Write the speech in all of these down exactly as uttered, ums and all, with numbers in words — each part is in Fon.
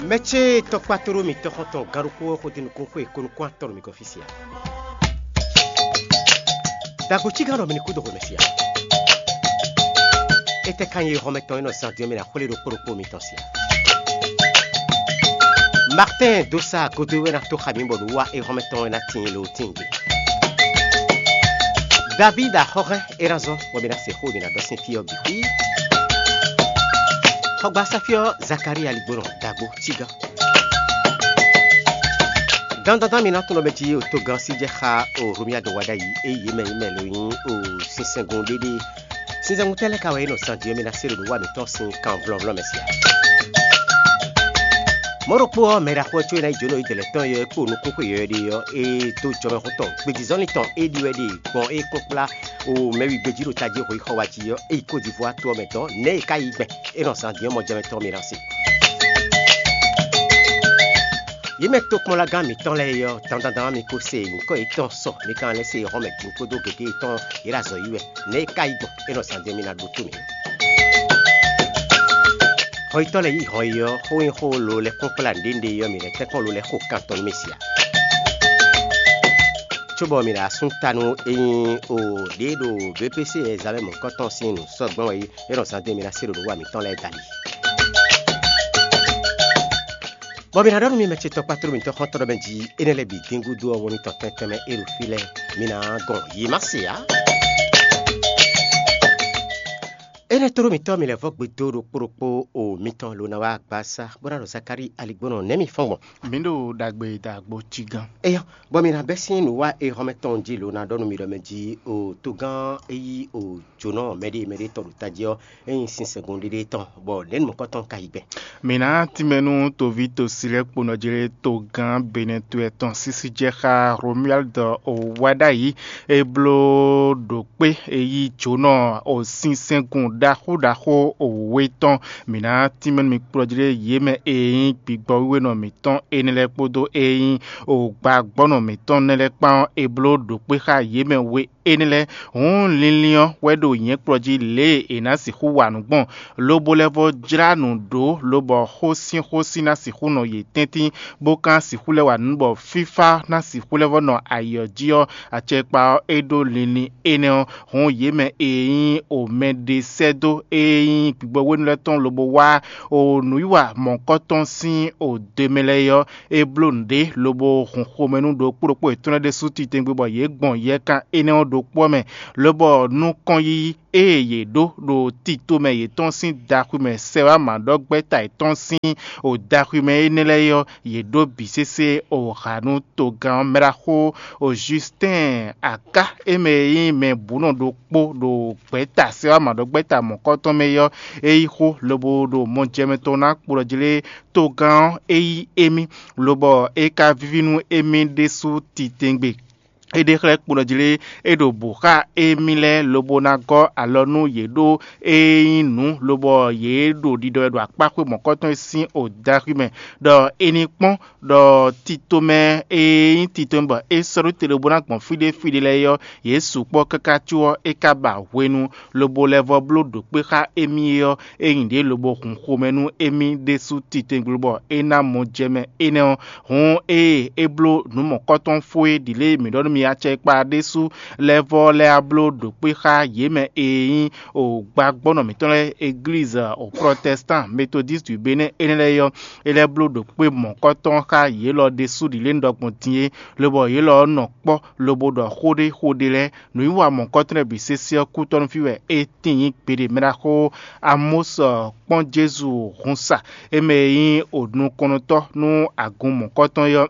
Mɛ ce tɔkpatoro mitɔn xɔntɔn gán ɖokpó ɔ́ xo dó nukún xwe ko nukún atɔn ɖo mi gɔ́ fí sia. Dagbo cígán ɖɔ mi ní kú dó xwe mɛ sia. Étɛ́ ka nyí exɔmɛ tɔn e nɔ zán din ɔ́ mɛ ná xwlé ɖokpó ɖokpó mitɔn sia? Martin dó sa godo wɛ ná tó xa mi bɔ nǔ wa exɔmɛ tɔn wɛ ná tíin lo tíin gbe. David axɔ́hɛn é ná zɔ́n bɔ mi ná se xó mi ná ɖɔ sín fí ɔ́ bǐ xwí. Xɔgbasá fí ɔ́ Zakaria ligbónɔ dagbo cígán. Dandandan mi ná tunɔ mɛ jí o togán sí jɛ xá o Romiado wá ɖ'ayǐ é yě mɛ yě mɛ lo nyí o sinsɛngun ɖéɖé. Sinsɛngun tɛ́ lɛ́ɛ ka wɛ é nɔ zán din ɔ́ mi ná se ɖo nǔ wa mǐtɔn sín kan vlɔ́nvlɔ́ mɛ sia? Mɔ̌ ɖokpó ɔ́, mɛ ɖaxó ɔ́ có é ná yi jǒnɔ yi dɛ̌lɛ́ tɔn e ɔ́ é kpo nukúnxwe yɔ̌yɔ́ ɖé ɔ́, é dó jɔmɛxó tɔn gbejizɔ́lin tɔn é ɖi wɛ ɖe gbɔn é kpɔ́n kplá o mɛwi gbejí ɖo tají hweyixɔ wá jí ɔ́, é yi Kódivwá to ɔ́ mɛ dɔ̌n nɛ̌ è ka yi gbɛn é nɔ zán din ɔ́ mɔ jɛmɛ tɔn mi ná se. Yě mɛ tokpɔnlagán mǐtɔn lɛ́ɛ é ɔ́, dandandan mi ko se nyǐkɔ yětɔn sɔ mi ka lɛ́ se hɔn mɛ din kpódó gěgé yětɔn yě ɖo azɔ̌ yi wɛ. Nɛ̌ é ka yi gbɔn é nɔ zán din mi ná ɖótó mǐ? Hɔnyitɔ́ lɛ́ɛ yí hɔn yi ɔ́, xó nyí xó lo lɛ́ kpɔ́n kplá nǔɖé nǔɖé ɔ́, mǐ lɛ́ tɛ́nkpɔ́n lo lɛ́ xo kan tɔn nú mì sia. Cóbɔ mǐ ɖo asún ta nú é nyí o ɖě ɖo B P C examen mɔ̌hunkɔtɔn sín nǔ sɔ́ gbɔn wɛ é nɔ zán din mi ná se ɖo nǔ wa mǐtɔn lɛ́ɛ dali. Bɔ mǐ ná ɖɔ nú mi mɛ ce tɔkpatoro mǐtɔn xɔ́ntɔn ɖɔ mɛ jí énɛ́ lɛ́ɛ bǐ dín gúdo ɔ́, wo mitɔn tɛn tɛnmɛ e ɖo fí lɛ́ɛ, mi ná gɔn yě má se ǎ. Énɛ́ tlóló mǐtɔn mi lɛ́ vɔ́ gbe dó ɖokpó ɖokpó o mitɔn lo ná wá gbasá, bó ná ɖɔ Zakalíi aligbónɔ nɛ̌ mi fɔ́n gbɔn? Mǐ ɖo ɖagbe da agbo cí gán. Eyɔ, bɔ mi ná bɛ́ sín nǔ wa e hɔn mɛ tɔn jí lo ná ɖɔ nú mi ɖɔ mɛ jí o togán e yí o jǒnɔ mɛɖé mɛɖé tɔn ɖo tají ɔ́, é nyí sinsɛngun ɖéɖé tɔn, bɔ nɛ̌ nu mɔ̌kɔ́ tɔn ka yi gbɛn? Mǐ ná tínmɛ nú toví tosi lɛ́ɛ kponɔ jí lé togán Benɛtu tɔn sísí jɛ xá Romuald o wá ɖ'ayǐ. É bló ɖo kpé e yí jǒnɔ o sinsɛngun ɖaxó ɖaxó o wěwé tɔn. Mǐ ná tínmɛ nú mi kplɔ́ jí lé yě mɛ e nyí gbigbɔ wíwénɔ mǐtɔn énɛ́ lɛ́ɛ kpódó e nyí o gbagbɔ́nɔ mǐtɔn nɛ́ lɛ́ɛ kpán ɔ́, è bló ɖo kpé xá yě mɛ we énɛ́ lɛ́ɛ. Hǔn linlin ɔ́ wɛ ɖo nyɛ̌ kplɔ́ jí lě e è nǎ sixú wa nǔ gbɔn, lobo lɛ́ vɔ́ jlá nǔ ɖó, lobɔ xó sín xó sín ná sixú nɔ yě tɛ́ntin, bó ka ná sixú lɛ́ wa nǔ bɔ fífá ná sixú lɛ́ vɔ́ nɔ ayǐ ɔ́ jí ɔ́, acɛkpa ɔ́ é ɖó linlin énɛ́ ɔ́. Hǔn yě mɛ e nyí o mɛ ɖe sɛ́ dó e nyí gbigbɔ hwenu lɛ́ɛ tɔn lobo wá o nǔwiwa mɔ̌hunkɔtɔn sín o do e mɛ lɛ́ɛ é ɔ́, é bló nǔɖé lobo hun xomɛ nú ɖokpó ɖokpó yětɔn lɛ́ɛ ɖésú titewungbe bɔ yě gbɔn yɛkan énɛ́ ɔ́ ɖokpó ɔ́ mɛ, lobɔ nukɔn yiyi ée yě ɖó ɖo tito mɛ yětɔn sín daxwi mɛ sɛ wá mǎ ɖɔ gbɛ́ta yětɔn sín o daxwi mɛ énɛ́ lɛ́ɛ é ɔ́, yě ɖó bǐ sésé o ha nú togán ɔ́ mɛ ɖaxó o Jistɛ́ɛn aká é mɛ e nyí mɛ bǔnɔ ɖokpó ɖo gbɛ̌ta sɛ wá mǎ ɖɔ gbɛ́ta mɔ̌kɔtɔn mɛ é ɔ́, é yí xó lobo ɖo mɔjɛmɛ tɔn ná kplɔ́ jí lé togán ɔ́ é yí émí, lobɔ é ka víví nú émí ɖésú titewungbe. É ɖe xlɛ́ kpo nɔ jí lé, é ɖo bǔ xá émí lɛ́ɛ lobo ná gɔ́ alɔ nú yě ɖó é nyí nǔ, lobɔ yě ɖo ɖiɖɔ wɛ ɖo akpáxwé mɔ̌kɔtɔn e sín o daxwi mɛ, ɖɔ è ní kpɔ́n ɖɔ tito mɛ e nyí tito mɛ bɔ é sɔ́ ɖó te lobo ná gbɔn fí ɖé fí ɖé lɛ́ɛ é ɔ́, yě sukpɔ́ káká có ɔ́, é ka ba hwenu lobo lɛ́ vɔ́ bló ɖo kpé xá émí é ɔ́, é nyí ɖě lobo hun xomɛ nú émí ɖésú titewungbe bɔ é ná mɔ jɛ mɛ énɛ́ ɔ́. Hǔn ée é bló nǔ mɔ̌kɔtɔn fó é ɖi lě e mǐ ɖɔ nú mi acɛkpa ɖésú lɛ́ɛ vɔ́ lɛ́ɛ wá bló ɖo kpé xá yě mɛ e nyí o gbagbɔ́nɔ mǐtɔn lɛ́ɛ, eglízi o protɛstan metodístu Benɛ́ɛ énɛ́ lɛ́ɛ é ɔ́, é lɛ́ bló ɖo kpé mɔ̌kɔtɔn xá yě lɔ ɖésú ɖi lě un ɖɔ gbɔn din é, lobɔ yě lɔ ɔ́ nɔ kpɔ́ lobo ɖɔ xó ɖé xó ɖé lɛ́ɛ. Nǔwiwa mɔ̌kɔtɔn lɛ́ɛ bǐ sésé ɔ́ kútɔ́ nú fí wɛ é tíin nyí gbeɖé mɛ ɖaxó Amɔ́sɔ kpɔ́n Jezu hun sa, é mɛ e nyí o nukɔntɔ́ nú agun mɔ̌kɔtɔn é ɔ́.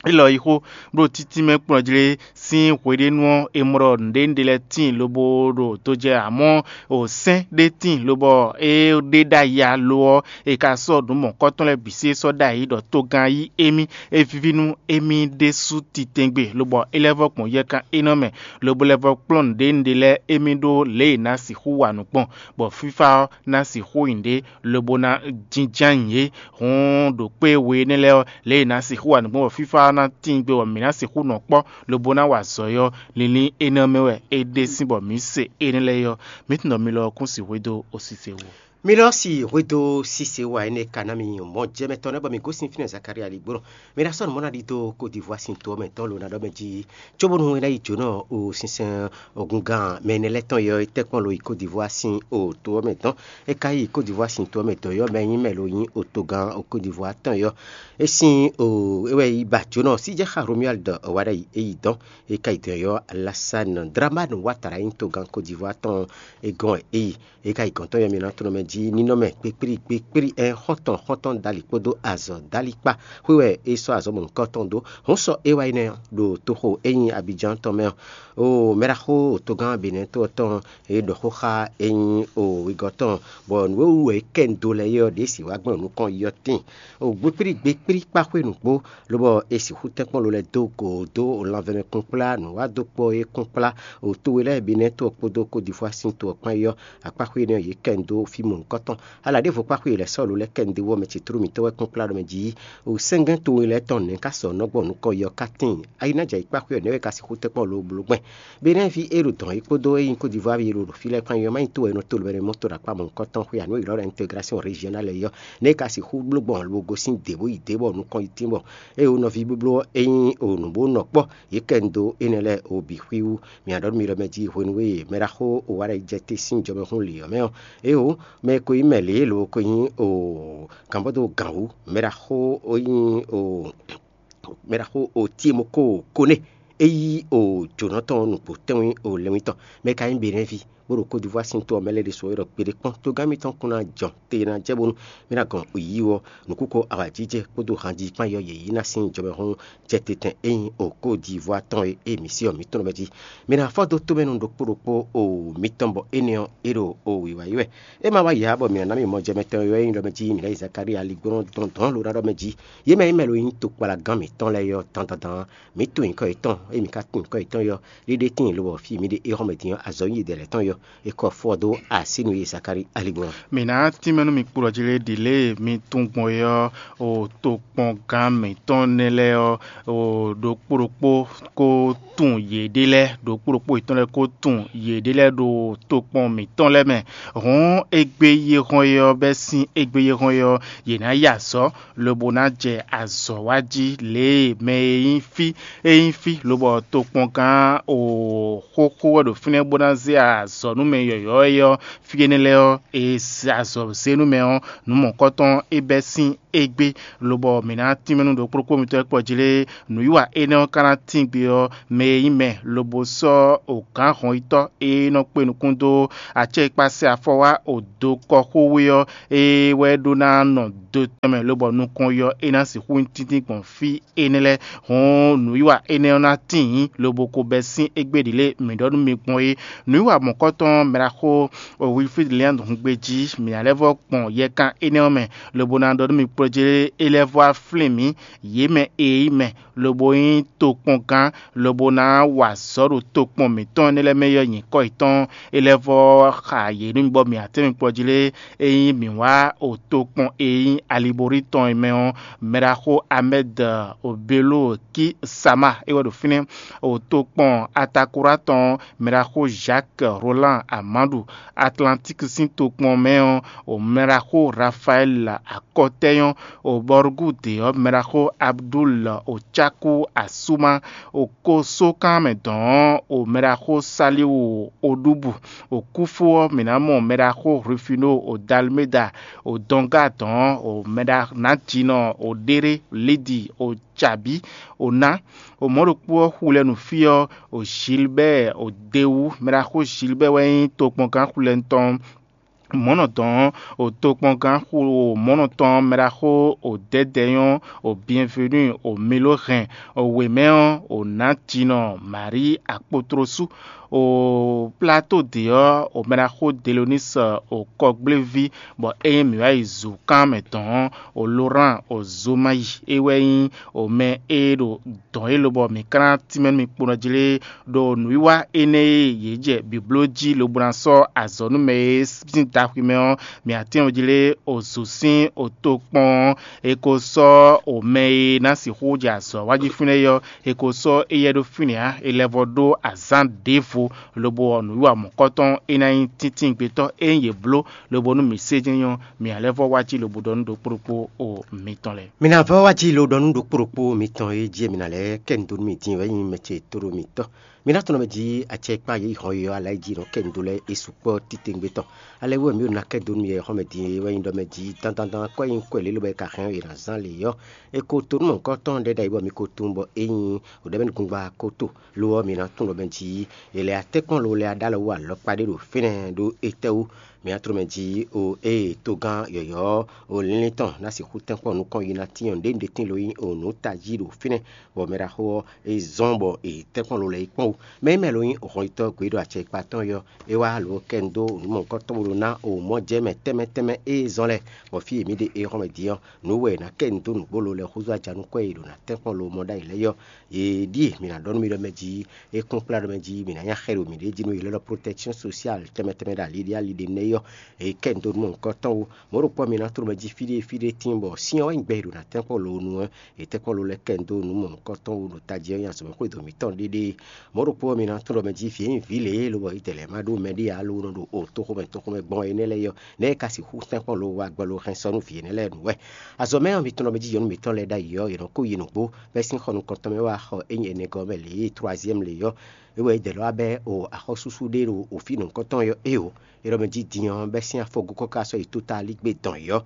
Élɔ́ yi xó, bó ɖo títí mɛ kplɔ́n jlé sín hweɖénu ɔ́, è mɔ ɖɔ nǔɖé nǔɖé lɛ́ɛ tíin lobo ɖo dojɛ, amɔ́ o sɛ́n ɖé tíin lobɔ é ɖe ɖ'ayǐ ǎ lo ɔ́, è ka sɔ́ nǔ mɔ̌kɔtɔn lɛ́ɛ bǐ sí é sɔ́ ɖ'ayǐ ɖɔ togán yí émí, é víví nú émí ɖésú titɛngbe, lobɔ é lɛ́ vɔ́ gbɔn yɛkan énɛ́ mɛ, lobo lɛ́ vɔ́ kplɔ́n nǔɖé nǔɖé lɛ́ɛ émí ɖó lě e è nǎ sixú wa nǔ gbɔn, bɔ fífá ɔ́ ná sixú nyí ɖě, lobo ná jínjɔ́n ayǐ é. Hǔn ɖo kpé we énɛ́ lɛ́ɛ ɔ́, lě e è nǎ sixú wa nǔ gbɔn bɔ fífá ɔ́ ná tíin gbe bɔ mǐ ná sixú nɔ kpɔ́, lobo ná wa azɔ̌ é ɔ́, linlin énɛ́ ɔ́ mɛ wɛ é ɖe sín bɔ mǐ se énɛ́ lɛ́ɛ é ɔ́, mǐ tunwun ɖɔ mi lɔ ɔ́ kún sixú dó osise wú. Milɔ́si hwedó sísè wa énɛ́ ka ná mi mɔ jɛmɛ tɔn nɛ́ bɔ mi gosín fínɛ́ Zakaria ligbónɔ. Mi ná sɔ́ nǔ mɔ ná ɖidó Côte d'Ivoire sín to ɔ́ mɛ tɔn lo ná ɖɔ mɛ jí, cóbónú é ná yi jǒnɔ o sinsɛn ogungán mɛ énɛ́ lɛ́ɛ tɔn yɔ é tɛ́ kpɔ́n lo yi Côte d'Ivoire sín o to ɔ́ mɛ tɔn. É ka yi Côte d'Ivoire sín to ɔ́ mɛ tɔn yɔ mɛ nyí mɛ lo nyí o togán o Côte d'Ivoire tɔn yɔ. É sín o é wɛ yi ba jǒnɔ síjɛ́ xá Romuald Wadagni é yi dɔn. É ka yi dɔn yɔ Alassane Dramane Ouattara nyí togán Côte d'Ivoire tɔn é gɔ́n wɛ é yi. É ka yi gɔ̌n tɔn yɔ mi ná tlɔ́n mɛ jí nínɔ́mɛ kpékplí kpékplí ɛn xɔ́ntɔn xɔ́ntɔn dali kpódó azɔ̌ dali kpá. Xwé wɛ é sɔ́ azɔ̌ mɔ̌hunkɔtɔn dó. Hǔn sɔ é wá yi nɛ́ ɖo toxo é nyí Abidjan tɔn mɛ ɔ́. O mɛɖaxó togán Benɛ́ to ɔ́ tɔn é ɖɔ xó xá é nyí o wegɔ́ tɔn, bɔ nǔ e wú wɛ é kɛ nu dó lɛ́ɛ é ɔ́ ɖě si wá gbɔn nukɔn yi ɔ́ tíin. O gbékplí gbékplí kpá xwé nǔgbó, lobɔ è sixú tɛ́nkpɔ́n lo lɛ́ɛ dó go dó lanvɛmɛ kplɔ́nkplá nǔwádókpɔ́ e kplɔ́nkplá o to we lɛ́ɛ bǐ nɛ́ to ɔ́ kpódó Côte d'Ivoire sín to ɔ́ kpán é ɔ́, akpá xwé énɛ́ ɔ́, yě kɛ nu dó fí mɔ̌hunkɔtɔn. Ala ɖěvo kpá xwé lɛ́ɛ sɔ́ lo lɛ́ɛ kɛ nu dó wú ɔ́, mɛ ce tlú mǐtɔn wɛ kplɔ́nkplá ɖɔ mɛ jí o sɛ́ngɛ́n to we lɛ́ɛ tɔn nɛ̌ ka sɔ nɔ́ gbɔn nǔkɔn yi ɔ́ ka tíin. Ayi ná jɛ yi kpá xwé ɔ́, nɛ̌ wɛ ka sixú tɛ́nkpɔ́n lo bló gbɛn? Benɛ́ ví e ɖo dɔ̌n é kpódó e nyí Côte d'Ivoire ví e ɖo ɖo fí lɛ́ɛ kpán é ɔ́, má nyí to wɛ è nɔ to lǒbɛ́ ɖo mɔ́ to ɖo akpá mɔ̌hunkɔtɔn xwé ǎ nú è ylɔ́ ɖɔ intégration régionale é ɔ́, nɛ̌ è ka sixú bló gbɔn lobo gosín dě bó yi dě bɔ nukɔn yi tín bɔ é o nɔví blóbló e nyí o nǔ bó nɔ kpɔ́ yě kɛ nu dó énɛ́ lɛ́ɛ o bǐ xwíwú. Mǐ ná ɖɔ nú mi ɖɔ mɛ jí hwenu e mɛɖaxó o wa ɖo yi jɛ te sín jɔmɛhún lǐ ɔ́ mɛ ɔ́, é o mɛ e ko nyí mɛ lě lobo ko nyí o gǎnbɔ́dó gǎn wú mɛɖaxó o nyí o mɛɖaxó o Tiemoko Kone é yí o jǒnɔ tɔn nukpo tɛ́nwí o lɛnwí tɔn, mɛ ka nyí Benɛ́ví, bó ɖo Côte d'Ivoire sín to ɔ́ mɛ lɛ́ɛ ɖésú é ɖɔ kpeɖé kpɔ́n. Togán mitɔn kún ná jɔ te ná jɛ bónú mì ná gɔn yǐyí ɔ́, nǔkúkɔ awǎjijɛ kpódó hanjí kpán yɔ yě yí ná sín jɔmɛhún jɛ te tɛn é nyí o Côte d'Ivoire tɔn e é mǐ sí ɔ́ mǐ tɔn mɛ jí. Mǐ ná fɔ́ dó tómɛnu ɖokpó ɖokpó o mitɔn bɔ énɛ́ ɔ́ é ɖo o wǐwá yi wɛ. É ma wá yǎ bɔ mǐ ná ná mì mɔ jɛmɛ tɔn e wɛ é nyí ɖɔ mɛ jí mǐ ná yi Zakalía ligbɔ́nɔ dɔn dɔ̌n lo ná ɖɔ mɛ jí. Yě mɛ nyí mɛ lo nyí tokpalagán mǐtɔn lɛ́ɛ ɔ́ dandandan ɔ́, mǐ tunwun nyǐkɔ yětɔn, ényí mǐ ka tunwun nyǐkɔ yětɔn ɔ́, ɖiɖe tíin lobɔ fí e mǐ ɖe éhɔ́mɛ din ɔ́, azɔ̌ nyi ɖɛ̌lɛ̌ tɔn yɔ, è kɔ fɔ dó así nú yě Zakalía aligbɔn. Mǐ ná tínmɛ nú mi kplɔ́ jí lé ɖi lě e mi tunwun gbɔn é ɔ́, o tokpɔngán mǐtɔn nɛ́ lɛ́ɛ ɔ́, o ɖokpó ɖokpó kó tunwun yěɖée lɛ́ɛ, ɖokpó ɖokpó yětɔn lɛ́ɛ kó tunwun yěɖée lɛ́ɛ ɖo tokpɔn mǐtɔn lɛ́ɛ mɛ. Hǔn égbé yi e hɔn é ɔ́, bɛ́ sín égbé yi e hɔn é ɔ́, yě ná yi azɔ̌ lobo ná jɛ azɔ̌ wa jí lě e mɛ e nyí fí e nyí fí lobɔ tokpɔngán o xóxó wɛ ɖo fínɛ́ bó ná zé azɔ̌ nú mɛ yɔ̌yɔ́ é ɔ́, fí énɛ́ lɛ́ɛ ɔ́, è se azɔ̌ zé nú mɛ ɔ́, nǔ mɔ̌hunkɔtɔn é bɛ́ sín égbé, lobɔ mǐ ná tínmɛ nú ɖokpó ɖokpó mitɔn e kpɔ́ jí lé. Nǔwiwa énɛ́ ɔ́ ka ná tín gbe ɔ́, mɛ e nyí mɛ lobo sɔ́ o gǎn hɔnyitɔ́ e nɔ kpe nukún dó acɛ e kpá sɛ afɔ wá o do kɔxówé ɔ́, é wɛ ɖó ná nɔ do tɔn mɛ lobɔ nukɔn yɔ é ná sixú nyí tíntín gbɔn fí énɛ́ lɛ́ɛ. Hǔn nǔwiwa énɛ́ ɔ́ ná tíin lobo ko bɛ́ sín égbé ɖě lě mǐ ɖɔ nú mi gbɔn é. Nǔwiwa mɔ̌kɔtɔn mɛɖaxó Wilfrid Leandre hun gbe jí, mǐ ná lɛ́ vɔ́ gbɔn yɛkan énɛ́ ɔ́ mɛ, lobo ná ɖɔ nú mi kplɔ́ jí é lɛ́ vɔ́ wá flín mǐ, yě mɛ e nyí mɛ, lobo nyí tokpɔngán, lobo ná wa azɔ̌ ɖo tokpɔn mǐtɔn énɛ́ lɛ́ɛ mɛ yɔ nyǐkɔ yětɔn, é lɛ́ vɔ́ xa yě nú mi bɔ mǐ ná tɛ́ mi kplɔ́ jí lé. Ényí mǐ wá o tokpɔn e nyí Aliborí tɔn e mɛ ɔ́, mɛɖaxó Amɛ́d Obelo Kisama é wɛ ɖo fínɛ́. O tokpɔn Atakurá tɔn ɔ́, mɛɖaxó Jacques Roland Amanɖu, Atlantík sín tokpɔn mɛ ɔ́, o mɛɖaxó Rafaɛl Akɔtɛ́nyɔ́, o Bɔrugúde ɔ́, mɛɖaxó Abdul Ocákú Asúmá, o kósókán mɛ dɔn ɔ́, o mɛɖaxó Saliwu Oɖúbu, o kúfú ɔ́, mǐ ná mɔ mɛɖaxó Rufino, o Dalméda, o dɔngá dɔn ɔ́, o mɛɖa nǎjínɔ, o ɖéɖé Lidi, o Jabí, o ná, o mɔ̌ ɖokpó ɔ́, xulɛnufí ɔ́, o Gilbɛ́ɛ, o Dewú, mɛɖaxó Gilbɛ́ɛ wɛ nyí tokpɔngán xulɛnu tɔn. Mɔ̌nɔ dɔn ɔ́, o tokpɔngán xu o mɔ̌nɔ tɔn mɛɖaxó o Dɛ̌dɛ̌nyɔ́, o Bienvenu, o Milóhɛn, o wěmɛ ɔ́, o nǎjínɔ Marí Akpotrosú, o Platóde ɔ́, o mɛɖaxó Delonís, o kɔgbléví, bɔ ényí mǐ wá yi zǔkán mɛ dɔn ɔ́, o Lorán, o Zomayi, é wɛ nyí o mɛ e ɖo dɔ̌n élɔ́ bɔ mǐ ka ná tínmɛ nú mi kponɔ jí lé. Ɖo nǔwiwa énɛ́ e yě jɛ bǐbló jí lobo ná sɔ́ azɔ̌ nú mɛ e sín daxwi mɛ ɔ́, mǐ atɛ́nwú jí lé, o zǒ sín o tokpɔn ɔ́, è ko sɔ́ o mɛ e ná sixú jɛ azɔ̌ wa jí fínɛ́ é ɔ́, è ko sɔ́ éyɛ́ ɖó fínɛ́ ǎ; è lɛ́ vɔ ɖó azǎn ɖěvo. lobo ɔ́, nǔwiwa mɔ̌kɔtɔn é ná nyí tíntín gbetɔ́ e nyí yě bló, lobo nú mǐ sé jɛ́n nyɔ́, mǐ ná lɛ́ vɔ́ wá jí lobo ɖɔ nú ɖokpó ɖokpó o mitɔn lɛ́ɛ. Mi ná vɔ́ wá jí lo ɖɔ nú ɖokpó ɖokpó mitɔn e jí e mi ná lɛ́ kɛ nu dó nú mì din wɛ nyí mɛ ce tóɖó mitɔn. Mi ná tunɔ mɛ jí acɛ e kpán yě yi hɔn yi ɔ́, ala e jí nɔ kɛ nu dó lɛ́ɛ é sukpɔ́ titewungbe tɔn. Ale wú wɛ mǐ ɖo ná kɛ dó nú mi yɛ xɔ́mɛ din e wɛ nyí ɖɔ mɛ jí dandandan kɔ́ e nyí kɔ́ e lě lobɔ è ka hɛn ɔ́, è nǎ zán lě ɔ́, è ko to nú mɔ̌hunkɔtɔn ɖɛ́ ɖ'ayǐ bɔ mi ko tunwun bɔ é nyí wǒɖɛ́mɛnúgbungba ko to. Lo ɔ́, mi ná tunwun ɖɔ mɛ jí è lɛ atɛ́nkpɔ́n lo lɛ́ɛ ɖó alɔ wú alɔkpa ɖé ɖo fínɛ́ ɖó étɛ́wú? Mi ná tunwun mɛ jí o ée togán yɔ̌yɔ́ o línlín tɔn ná sixú tɛ́nkpɔ́n nukɔn yi ná tín ɔ́, nǔɖé nǔɖé tín lo nyí o nǔ tají ɖo fínɛ́, bɔ mɛ ɖaxó ɔ́, é zɔ́n bɔ è tɛ́nkpɔ́n lo lɛ́ɛ yi kpɔ́n wú. Mɛ e mɛ lo nyí hɔnyitɔ́ gbe ɖo acɛkpa tɔn yɔ, é wá lo kɛ nu dó nǔ mɔ̌hunkɔtɔn bó ɖó ná o mɔ̌ jɛ mɛ tɛnmɛ tɛnmɛ e zɔ́n lɛ́ɛ, bɔ fí e mǐ ɖe é hɔn mɛ din ɔ́, nǔ wɛ è nǎ kɛ nu dó nǔgbó lo lɛ́ɛ húzú aja nukɔn e è ɖo ná tɛ́nkpɔ́n lo mɔ ɖ'ayǐ lɛ́ɛ yɔ. Yě ɖíe mǐ ná ɖɔ nú mi ɖɔ mɛ jí, é kplɔ́nkplá ɖɔ mɛ jí mǐ ná nya xɛ ɖo mǐɖée jí nú yě lɛ́ ɖɔ protection sociale tɛnmɛ tɛnmɛ ɖo ali ɖé ali ɖé nɛ́ yɔ. È kɛ nu dó nǔ mɔ̌hunkɔtɔn wú. Mɔ̌ ɖokpó ɔ́, mi ná tló mɛ jí fí ɖé fí ɖé tíin bɔ syɛ́n wɛ nyí gbɛ e ɖo ná tɛ́nkpɔ́n lo nu ɔ́, è tɛ́nkpɔ́n lo lɛ́ kɛ nu dó nǔ mɔ̌hunkɔtɔn wú ɖo tají ɔ́ nyi azɔ̌mɛxwé dǒ mǐtɔn ɖéɖée. Mɔ̌ ɖokpó ɔ́, mi ná tunwun ɖɔ mɛ jí vǐ e nyí vǐ lě e lobɔ yi dɛ̌ lɛ́ɛ ma ɖó mɛ ɖé ǎ lónɔ ɖo o toxomɛ toxomɛ gbɔn énɛ́ lɛ́ɛ yɔ, nɛ̌ e ka sixú tɛ́nkpɔ́n lo wá gbɔ lo hɛn sɔ́ nú vǐ énɛ́ lɛ́ɛ nǔ wɛ? Azɔ̌ mɛ ɔ́, mi tunwun ɖɔ mɛ jí yɔ̌nu mǐtɔn lɛ́ɛ ɖ'ayǐ ɔ́, yě nɔ kó yi nǔgbó, bɛ́ sín xɔ nukɔntɔn mɛ wá xɔ é nyí ɛnɛgɔ́ mɛ lě e troazyɛ́mu lě ɔ́, é wɛ é dɛ̌ lɔ wá bɛ́ o axɔ́súsú ɖé ɖo o fí nǔkɔntɔn yɔ éeǒ. É ɖɔ mɛ jí din ɔ́, bɛ́ sín afɔgókɔ ka sɔ́ yi tótalígbé dɔn yě ɔ́.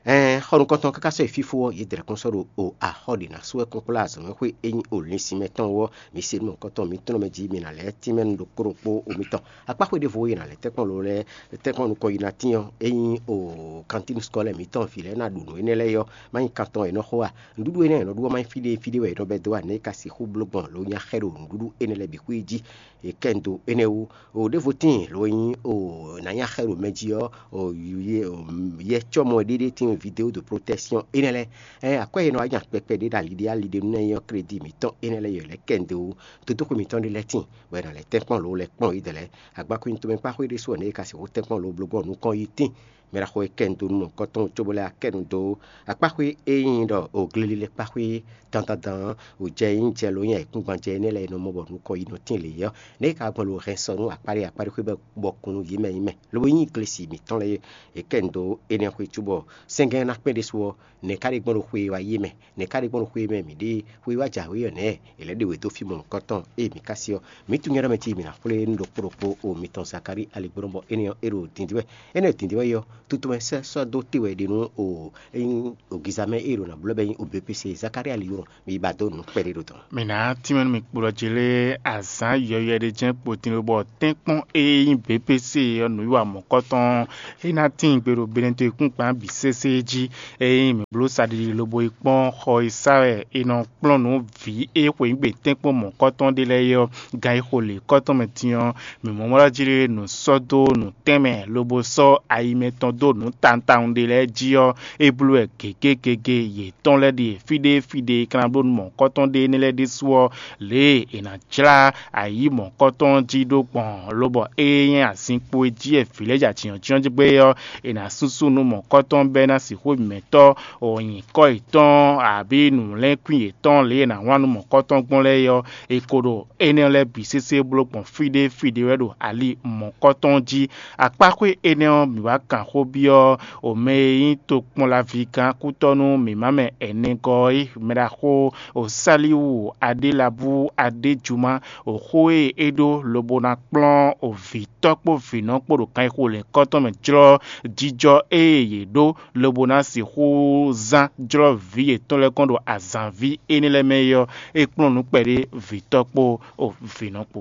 Ɛɛn, xɔ nukɔntɔn káká sɔ́ yi fífó ɔ́, yě dlɛ̌ kɔn sɔ́ ɖo o axɔ́ ɖě ná sú wɛ kpɔ́nkplɔ́ azɔ̌mɛxwé e nyí olǐnsin mɛ tɔn wú ɔ́, mi se nú mɔ̌hunkɔtɔn mitɔn mɛ jí mi ná lɛ́ tínmɛ nú ɖokpó ɖokpó o mitɔn. Akpáxwé ɖěvo e è nǎ lɛ́ tɛ́nkpɔ́n lo lɛ́ɛ tɛ́nkpɔ́n nukɔn yi ná tín ɔ́, é nyí o kantínu skɔ́lɛ mǐtɔn vǐ lɛ́ɛ ná ɖu nǔ énɛ́ lɛ́ɛ ɔ́, má nyí kan tɔn è nɔ xo a? Nǔɖuɖu énɛ́ è nɔ ɖu ɔ́, má nyí fí ɖé fí ɖé wɛ è nɔ bɛ́ dó a? Nɛ̌ è ka sixú bló gbɔn lo nyí axɛ́ ɖo nǔɖuɖu énɛ́ lɛ́ɛ bǐ xwé jí? È kɛ nu dó énɛ́ wú. O ɖěvo tíin lo nyí o nǎ nyí axɛ́ ɖo mɛ jí ɔ́, o yɛ cɔ́mɔ ɖéɖé tíin vidéo de protection énɛ́ lɛ́ɛ. Ɛ akwɛ́ e nɔ wá nya kpɛkpɛ ɖé ɖo ali ɖé ali ɖé nú nɛ́ nyí ɔ́, krédi mǐtɔn énɛ́ lɛ́ɛ yě lɛ́ kɛ nu dó. Dodóxwe mǐtɔn ɖé lɛ́ɛ tíin, bɔ è nǎ lɛ́ tɛ́nkpɔ́n lo lɛ́ kpɔ́n yě dɛ̌ lɛ́ɛ. Agbakwín tomɛ kpáxwé ɖésú ɔ́, nɛ̌ è ka sixú tɛ́nkpɔ́n lo bló gbɔn nukɔn yi tíin? Mɛ ɖaxó e kɛ nu dó nú mɔ̌hunkɔtɔn cóbó lɛ́ akɛ nu dó akpáxwé e nyí ɖɔ o glélílɛ́ kpáxwé dandandan ɔ́, o jɛ e nyí jɛ lo nyí ayǐkúngban jɛ énɛ́ lɛ́ɛ e nɔ mɔ bɔ nukɔn yi nɔ tíin lě é ɔ́, nɛ̌ è ka gbɔn lo hɛn sɔ nú akpáɖé akpáɖé xwé bɔ kun nú yě mɛ nyí mɛ, lobo nyí glesi mǐtɔn lɛ́ɛ e kɛ nu dó énɛ́ xwé cóbɔ sɛ́ngɛ́n ná kpɛ́n ɖésú ɔ́, nɛ̌ ka ɖe gbɔn ɖo xwe e wá yi é mɛ? Nɛ̌ ka ɖe gbɔn ɖo xwe e mɛ mǐ ɖe xwe e wá jǎwe ɔ́ nɛ̌? È lɛ́ ɖe wě dó fí mɔ̌hunkɔtɔn e mǐ ka se ɔ́, mǐ tunwun nyɛ ɖɔ mɛ jí mǐ ná xwlé nú ɖokpó ɖokpó o mitɔn Zakalíi aligbɔnɔ bɔ énɛ́ ɔ́, é ɖo dǐndín wɛ. Énɛ́ ɖo dǐndín wɛ yi ɔ́, tutu mɛ sɛ́ sɔ́ dó te wɛ è ɖe nú o é nyí o giza mɛ e è ɖo ná blɔ́ bɔ é nyí o B P C Zakalíi aligbɔnɔ, mi ba dó nǔ kpɛɖé ɖo dɔ̌n. Mǐ ná tínmɛ nú mi kpo ɖɔ jí lé azǎn yɔywɛ ɖé jɛ́n kpo din lobɔ tɛ́nkpɔ́n e nyí B P C ɔ́ nǔwiwa mɔ̌kɔtɔn é ná tíin gbe ɖo Benɛto yěkúngban bǐ sésé jí. Ényí mǐ bló saɖiɖi lobo yi kpɔ́n xɔ e sá wɛ è nɔ kplɔ́n nǔ vǐ e xweyǐgbe tɛ́nkpɔ́n mɔ̌kɔtɔn ɖé lɛ́ɛ é ɔ́, gan e xo lě kɔ́tɔn mɛ din ɔ́, mǐ mɔ mɔ jí nǔ sɔ́ dó nǔ tɛnmɛ lobo sɔ́ ayi mɛtɔn dó nǔ tawun tawun ɖé lɛ́ɛ jí ɔ́, é bló wɛ gěgé gěgé yětɔn lɛ́ɛ ɖíe fí ɖé fí ɖé è ka ná bló nú mɔ̌kɔtɔn ɖé énɛ́ lɛ́ɛ ɖésú ɔ́, lě e è nǎ jlá ayǐ mɔ̌kɔtɔn jí ɖó gbɔn, lobɔ ée nyí azinkpo e jí e vǐ lɛ́ɛ ja jǐnjɔ́n jí gbé ɔ́, è nǎ súnsún nú mɔ̌kɔtɔn bɔ é ná sixú mǐmɛ́tɔ́ nyǐkɔ yětɔn abǐ nǔlɛ́nkwín yětɔn lě e è nǎ wlán nú mɔ̌kɔtɔn gbɔn lɛ́ɛ é ɔ́, è ko ɖo énɛ́ lɛ́ɛ bǐ sésé bló gbɔn fí ɖé fí ɖé wɛ ɖo ali mɔ̌kɔtɔn jí. Akpáxwé énɛ́ ɔ́, mǐ wá kan xó byɔ́ o mɛ e nyí tokpɔnlaví gán kútɔ́ nú mǐmá mɛ ɛnɛgɔ́ é, mɛɖaxó o Saliwu Adélabu Adéjuma, o xó e é ɖó lobo ná kplɔ́n o vǐtɔ́ kpó vǐnɔ kpó ɖo kan e xo lɛ̌nkɔ́tɔn mɛ jlɔ́ jijɔ e yě ɖó lobo ná sixú zán jlɔ́ vǐ yětɔn lɛ́ɛ kɔn ɖo azǎnví énɛ́ lɛ́ɛ mɛ é ɔ́, é kplɔ́n nǔ kpɛɖé vǐtɔ́ kpó o vǐnɔ kpó.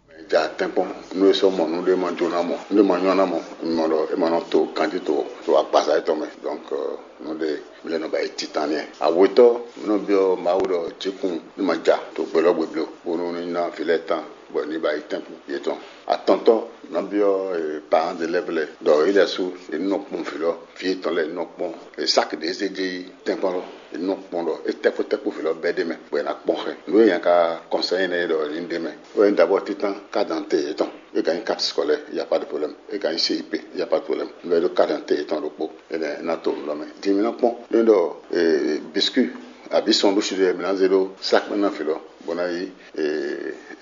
Mɛ ja tɛ́nkpɔ́n nú é sɔ́ mɔ nǔɖé ma jó ná mɔ, nǔɖé ma nyɔ́ ná mɔ, mɔ ɖɔ é ma nɔ to kanjí to to agbaza étɔn mɛ. Donc nǔɖé mi lɛ́ nɔ ba yi titan n'i. Awetɔ́ mi nɔ byɔ́ Mawu ɖɔ jǐkun ní ma ja to gbe lɔ́ gbe bló, bónú ní ná vǐ lɛ́ɛ tán bɔ ní ba yi tɛ́nkpɔ́n yětɔn. Atɔntɔ́ nɔ byɔ́ parents d'élèves lɛ́ɛ ɖɔ yě lɛ́ɛ sú yě ní nɔ kpɔ́n vǐ lɔ, vǐ yětɔn lɛ́ɛ ní nɔ kpɔ́n. Sáki ɖě zé jɛ yi tɛ́nkpɔ́n lɔ, yě ní nɔ kpɔ́n ɖɔ é tɛ́kpó tɛ́kpó vǐ lɔ bɛ́ ɖ'é mɛ, bɔ è nǎ kpɔ́n xɛ. Nǔ e nya ka kɔnsɛ́ énɛ́ ɖɔ yě ní ɖ'é mɛ, é wɛ nyí d'abord títán carte d'identité yětɔn, é ka nyí carte scolaire, il y a pas de problème, é ka nyí C I P, il y a pas de problème. Nǔ e ɖó carte d'identité yětɔn ɖokpó, énɛ́ ná to nǔ lɔ mɛ. Din mi ná kpɔ́n nú ɖɔ biscuit abǐ sɔn ɖó si ɖé mi ná zé ɖó sáki mɛ ná vǐ lɔ. bó ná yí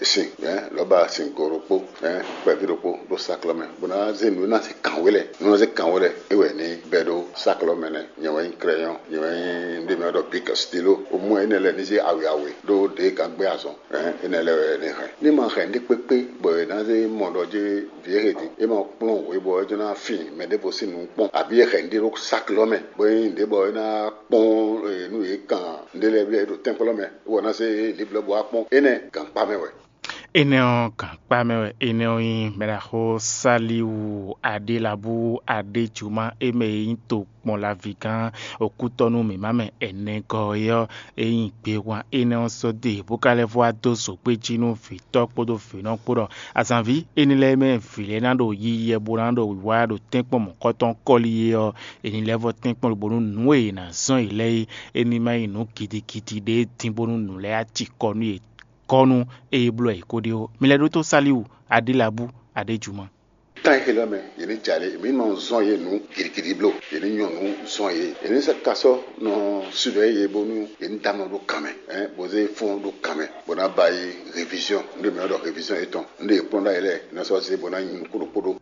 sin lɔ̌ba sin go ɖokpó kpɛví ɖokpó ɖó sáklɔ́ mɛ, bó ná zé nǔ e ná zé kǎnwé lɛ, nǔ e ná zé kǎnwé lɛ é wɛ ní bɛ́ ɖó sáklɔ́ mɛ nɛ́. Nyɛ wɛ nyí krɛyɔn, nyɛ wɛ nyí ɖé mɛ ɖɔ bik stilo. Omú ɛ énɛ́ lɛ́ɛ ní zé awě awě ɖó ɖě gǎn gbé azɔn. Énɛ́ lɛ́ɛ wɛ ní hɛn. Ní ma hɛn ɖé kpékpé bɔ è nǎ zé mɔ ɖɔ jí vǐ e hɛn din é ma kplɔ́n hwe bɔ é jɔ ná fin mɛ ɖěvo sín nǔ kpɔ́n, abǐ è hɛn ɖé ɖó sáklɔ́ mɛ, bó nyí ɖě bɔ é ná kpɔ́n nú yě kan ɖé lɛ́ɛ bíi ɖo tɛ́nkpɔ́n mɛ, bɔ ná zé liblɔ́ bó wá kpɔ́n. Énɛ́ gǎnkpá mɛ wɛ. Énɛ́ ɔ́, gǎnkpá mɛ wɛ énɛ́ ɔ́ nyí. Mɛɖaxó Saliwu Aɖélabu Aɖéjuma, é mɛ e nyí tokpɔn lavígán Okútɔ́nú mǐmá mɛ ɛnɛgɔ́ é ɔ́, é nyí gbewán énɛ́ ɔ́ sɔ́ dó e bó ka lɛ́ vɔ wá dó zǒgbé jí nú vǐtɔ́ kpódó vǐnɔ kpó ɖɔ azǎnví énɛ́ lɛ́ɛ mɛ vǐ lɛ́ɛ ná ɖo yiyi wɛ bó ná ɖo wǐwá ɖo tɛ́nkpɔ́n mɔ̌kɔtɔn kɔ́li é ɔ́, è ní lɛ́ vɔ tɛ́nkpɔ́n lobo nú nǔ e è nǎ zɔ́n yě lɛ́ɛ é, é ní ma nyí nǔ gidigidi ɖé dín bónú nǔ lɛ́ɛ á ci kɔ nú yě kɔ́ nú ée bló wɛ yě ko ɖe ó. Mi lɛ́ ɖótó Saliwu, Aɖélabu, Aɖéjuma. Tán e xelɔ́ mɛ, yě ní jɛ alě, mǐ nɔ zɔ́n yě nǔ gidigidi bló, yě ní nyɔ nǔ zɔ́n yě, yě ní sɛ́ kasɔ́ nɔ sudɔ yě bónú yě ní dá nɔ ɖó kan mɛ, bó zé fɔ́n ɖó kan mɛ, bó ná ba yi réviziɔn, nú ɖě mǐ nɔ ɖɔ réviziɔn yětɔn, nú ɖě yě kplɔ́n ɖ'ayǐ lɛ́ɛ, yě ná sɔ́ zé bó ná nyi nukún ɖokpó ɖó.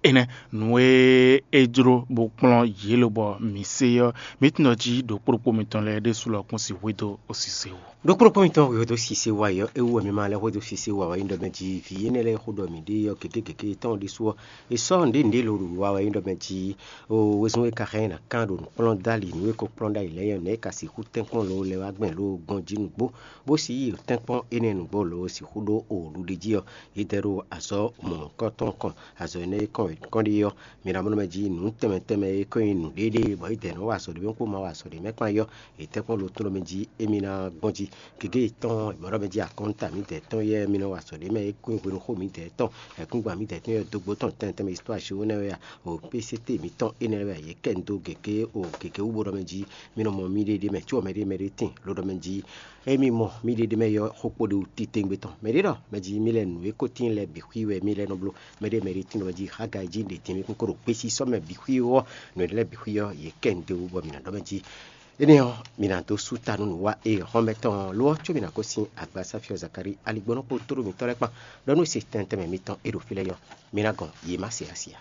Énɛ́ nǔ e é jló bó kplɔ́n yě lobɔ mǐ se ɔ́, mǐ tunwun ɖɔ jí ɖokpó ɖokpó mitɔn lɛ́ɛ ɖésú lɔ kún si hwedó osise wú. Ɖokpó ɖokpó mitɔn hwedó sise wá yi ɔ́, é wú wɛ mi ma lɛ́ hwedó sise wá wɛ nyí ɖɔ mɛ jí vǐ énɛ́ lɛ́ɛ e xó ɖɔ mǐ ɖe ɔ́, gěgé gěgé tɔn ɖésú ɔ́, è sɔ́ nǔɖé nǔɖé lo ɖo wiwa wɛ nyí ɖɔ mɛ jí o wezun e ka xá nyí nǎ kán ɖo nǔkplɔ́n dó ali nǔ e ko kplɔ́n ɖ'ayǐ lɛ́ɛ ɔ́, nɛ̌ è ka sixú tɛ́nkpɔ́n lo lɛ́ wá gbɛn lo gbɔn jí nǔgbó, bó si yi tɛ́nkpɔ́n énɛ́ nǔgbó lo sixú ɖó o ɖuɖi jí ɔ́, yě dɛ ɖo azɔ̌ mɔ̌hunkɔtɔn kɔn. Azɔ̌ énɛ́ e kɔn è kɔn ɖe ɔ́, mi ná mɔ nú mɛ jí nǔ tɛnmɛ tɛnmɛ e kɔn nyi nǔɖéɖé bɔ yě dɛ nɔ́ wa azɔ̌ ɖé mɛ kpó ma wa azɔ̌ ɖé mɛ kpán yɔ́, yě tɛ́nkpɔ́n lo tɔn mɛ jí émí ná gbɔn jí. Gěgé tɔn mɔ̌ ɖɔ mɛ jí akɔ́nta mǐdɛɛ tɔn yɛ mi nɔ wa azɔ̌ ɖé mɛ e kún hwenu xó mǐdɛɛ tɔn, ɛkúngban mǐdɛɛ tɔn yɛ dógbó tɔn tɛnmɛ tɛnmɛ histoire xó énɛ́ wɛ a, o P C T mǐtɔn énɛ́ wɛ a, yě kɛ nu dó gěgé o gěgé wú bó ɖɔ mɛ jí mi nɔ mɔ miɖée ɖé mɛ có mɛɖé mɛɖé tíin lo ɖɔ mɛ jí émí mɔ miɖée ɖé mɛ yɔ́ xó kpó ɖé wú titewungbe tɔn. Mɛɖé ɖɔ mɛ jí mi lɛ nǔ e ko tíin lɛ́ɛ bǐ xwí wɛ mi lɛ nɔ bló. Mɛɖé mɛɖé tíin ɖɔ mɛ jí xága e jí ɖě tín mi kún kó ɖo kpésí sɔ́ mɛ bǐ xwí ɔ́, nǔ énɛ́ lɛ́ɛ bǐ xwí ɔ́, yě kɛ nu dó wú bɔ mi ná ɖɔ mɛ jí. Énɛ́ ɔ́, mi ná dó sú ta nú nǔwá e hɔn mɛ tɔn ɔ́, lo ɔ́, có mi ná gosín agbasáfí ɔ́ Zakalíi aligbɔnɔ kpó tóɖó mǐtɔn lɛ́ɛ kpán, ɖɔ nú se tɛnmɛ tɛnmɛ mitɔn e ɖo fí lɛ́ɛ nyɔ́, mi ná gɔn yě má se asi ǎ.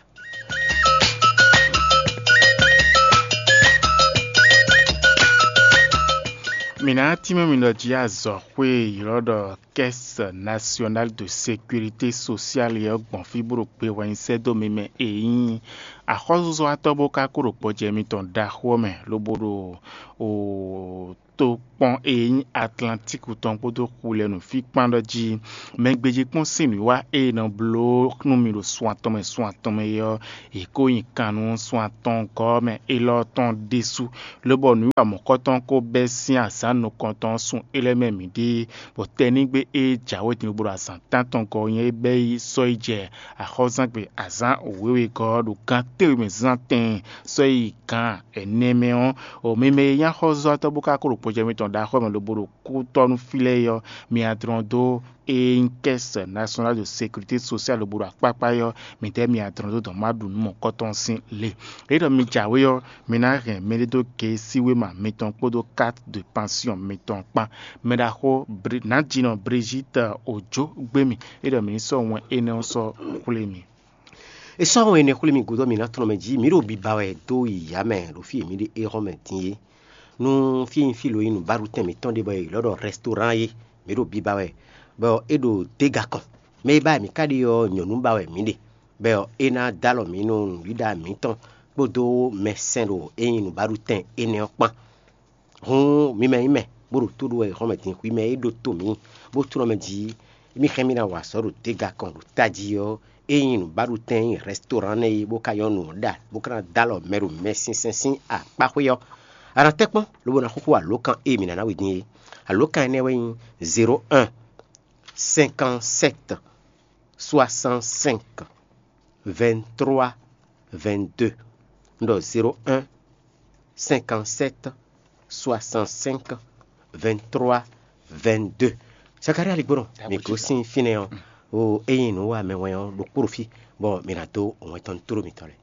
Mǐ ná tínmɛ mi ɖɔ jí azɔ̌xwé e ylɔ́ ɖɔ Caisse Nationale de Sécurité Sociale ɔ́ gbɔn fí bó ɖo gbe wɛ nyi sɛ́ dó mi mɛ e nyí axɔ́súzɔ́watɔ́ bó ka kó ɖo gbɔjɛ mitɔn ɖaxó ɔ́ mɛ, lobo ɖo o tokpɔn e nyí Atlantíku tɔn kpódó xu lɛ́ɛ nǔ fí kpán ɖɔ jí mɛ gbéjé kpɔ́n sín nǔwiwa e è nɔ bló nú mi ɖo sun atɔn mɛ sun atɔn mɛ é ɔ́, è kó nyi kan nú sun atɔngɔ́ mɛ élɔ́ tɔn ɖésú, lobɔ nǔwiwa mɔ̌kɔtɔn ko bɛ́ sín azǎn nukɔntɔn ɔ́ sun é lɛ́ɛ mɛ mǐ ɖe, bɔ tɛnígbe e jǎwe din lobo ɖo azǎn tántɔn gɔ́ ɔ́ nyí é bɛ́ yi sɔ́ yi jɛ axɔ́zangbe azǎn wěwegɔ́ ɔ́ ɖo gán téwe mɛ zán tɛn sɔ́ yi gǎn ɛnɛ mɛ ɔ́, o mi mɛ e nyí axɔ́zɔ́tɔ́ bó ka ko ɖo gbɔjɛ mitɔn ɖo axɔ́ mɛ lobo ɖo kútɔ́ nú fí lɛ́ɛ é ɔ́, mi adlɔn dó e nyí Caisse Nationale de Sécurité Sociale lobo ɖo akpákpá é ɔ́, midɛɛ mi adlɔn dó dɔn má ɖu nǔ mɔ̌kɔtɔn sín le. É ɖɔ mi jǎwe ɔ́, mi ná hɛn mɛɖé dó gěsíwéma mitɔn kpódó carte de pension mitɔn kpán. Mɛɖaxó Bri- Nǎjínɔ Brigitte Ojo gbé mi, é ɖɔ mi ní sɔ́ wɛn énɛ́ ɔ́ sɔ́ xwlé mi. È sɔ́ wɛn énɛ́ xwlé mi gúdo mi ná tlɔ́n mɛ jí mǐ ɖo biba wɛ dó yi yǎ mɛ ɖo fí e mǐ ɖe éhɔ́ mɛ din é. Nú fí e nyí fí lo nyí nǔbáɖutɛn mǐtɔn ɖé bɔ è ylɔ́ ɖɔ rɛstorán é, mǐ ɖo biba wɛ, bɔ é ɖo déga kɔn. Mɛ e ba wɛ mǐ ka ɖe ɔ́, nyɔ̌nu ba wɛ mǐ ɖe, bɔ é ná dó alɔ mǐ nú nǔɖiɖa mǐtɔn kpódó mɛsɛn ɖo é nyí nǔbáɖutɛn énɛ́ ɔ́ kpán. Hǔn mi mɛ nyí mɛ, bó ɖo tó ɖó wɛ xɔ́mɛ din hwi mɛ e ɖó to mǐ, bó tlɔ́n mɛ jí mì xɛn mì ná wa azɔ̌ ɖo déga kɔn ɖo tají ɔ́, é nyí nǔbáɖutɛn e nyí rɛstorán nɛ́ é, bó ka nyɔ́ nǔ ɔ́ ɖa, bó ka ná dó alɔ mɛ ɖo mɛ sinsɛn sín akpáxwé ɔ́, a nǎ tɛ́ kpɔ́n, lobo ná xúxú alǒkan e mǐ ná ná we din é. Alǒkan énɛ́ wɛ nyí zéro un cinquante sept soixante cinq vingt trois vingt deux. Un ɖɔ zéro un cinquante sept soixante cinq vingt trois vingt deux. Zakaria Ligbónɔ, mi gosín fínɛ́ ɔ́, o ényí nǔ wa mɛ wɛn ɔ́ ɖokpó ɖo fí, bɔ mi ná dó wɛn tɔn tló mitɔn lɛ́ɛ.